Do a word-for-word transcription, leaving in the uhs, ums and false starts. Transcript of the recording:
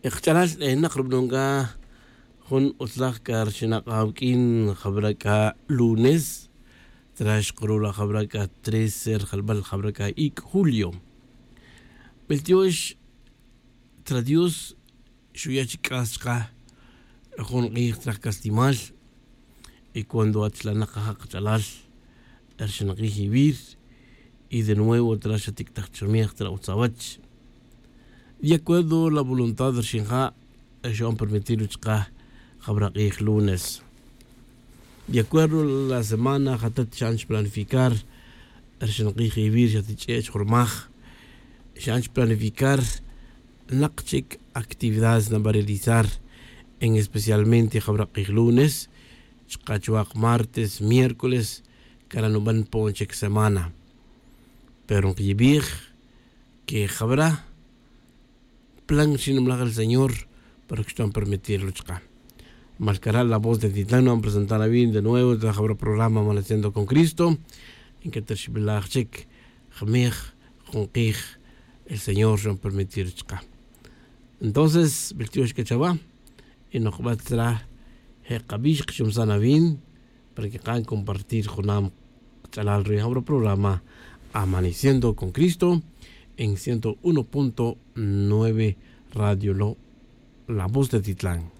Kach'alal, eh, naq rub'anon k'a jun utzlaj k'a rxinaq' awuk'in jab'ra' k'a lunes, trax qurula jab'ra' k'a trece rjalb'al jab'ra' k'a ik' julio. B'el tyox, tra dios xuya' chik k'as chaqe jun q'ij traj k'aslimal. Y cuando ach la' naq ajaq' qach'alal rxinaqij iwir, y de nuevo tra xatik'taj chirmej tra utzawach, de acuerdo la voluntad rxinja', xa'on permitir ru chaqe jab'ra' q'ij lunes. De acuerdo la semana jatat xa'an chplanificar rxinaqij iwir xatich'e' chjurmaj, xa'an chplanificar naq chik actividades nab'a' realizar, en especialmente jab'ra' q'ij lunes chaqe chwaq martes, miércoles, kara' nub'an po'on chik semana. Pero nqiyib'ij que jab'ra' plan xinimlaj el señor para que xta'on permitir ru chaqe. Malkara' la voz de titlan nub'an presentar awin de nuevo tra jab'ra' programa amaneciendo con cristo. Nketerxib'ilaj chik jmej jun q'ij el señor xon permitir chaqe. Entonces b'el tyox k'a chawa, y noqb'at tzra je' qab'ix qchumsan awin para que qa'an compartir junam qach'alal ri jab'ra' programa amaneciendo con cristo en ciento uno punto nueve radio lo, la voz de titlan.